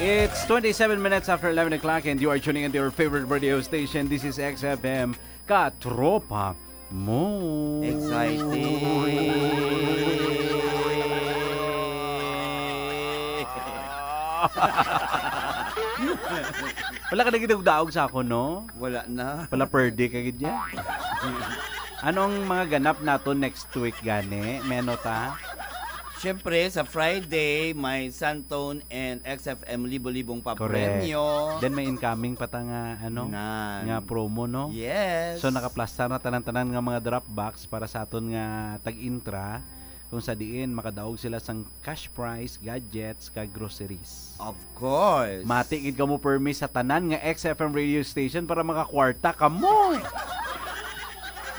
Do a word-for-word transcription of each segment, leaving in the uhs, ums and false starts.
It's twenty-seven minutes after eleven o'clock and you are tuning into your favorite radio station. This is X F M, Katropa Mo. Exciting. Wala ka nagdaog sa ako, no? Wala na. Pala per day ka gid yan. Anong mga ganap nato next week gani? May ano ta? Siyempre, sa Friday, may Santone and X F M libo-libong papremyo. Then may incoming pa ta nga, ano, Nan. nga promo, no? Yes. So nakaplastar na tanan-tanan nga mga drop box para sa aton nga tag-intra, kung sa diin makadaog sila sang cash prize, gadgets, kag groceries. Of course. Mati gid kamo permi sa tanan nga X F M radio station para makakwarta kamo.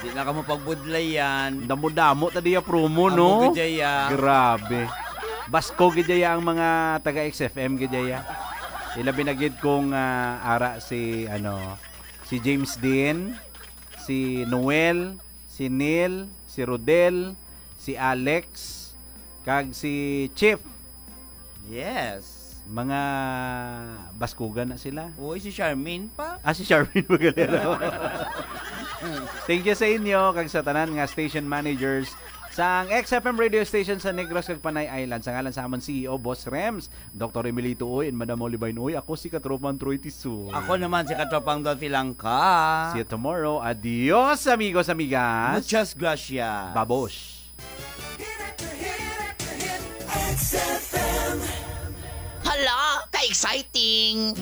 Di na kamo pagbudlayan. Damo-damo ta diya promo, Amo no? gid ya. Grabe. Basko gid ya ang mga taga X F M gid ya. Ilabi na gid kung ah, ara si ano, si James Dean, si Noel, si Neil, si Rodel, si Alex, kag si Chief. Yes. Mga baskugan na sila. Uy, si Charmaine pa. Ah, si Charmaine Magalera. Thank you sa inyo kag sa tanan nga station managers sang X F M radio station sa Negros kag Panay Island. Sa ngalan sa amon C E O, Boss Rems, Doctor Emilito Uy, and Madam Molly Bain Uy, ako si Katropang Troy Tisoy. Ako naman si Katropang Dolphy Langka. See you tomorrow. Adios, amigos, amigas. Muchas gracias. Babosh. X F M. Hala, ka-exciting!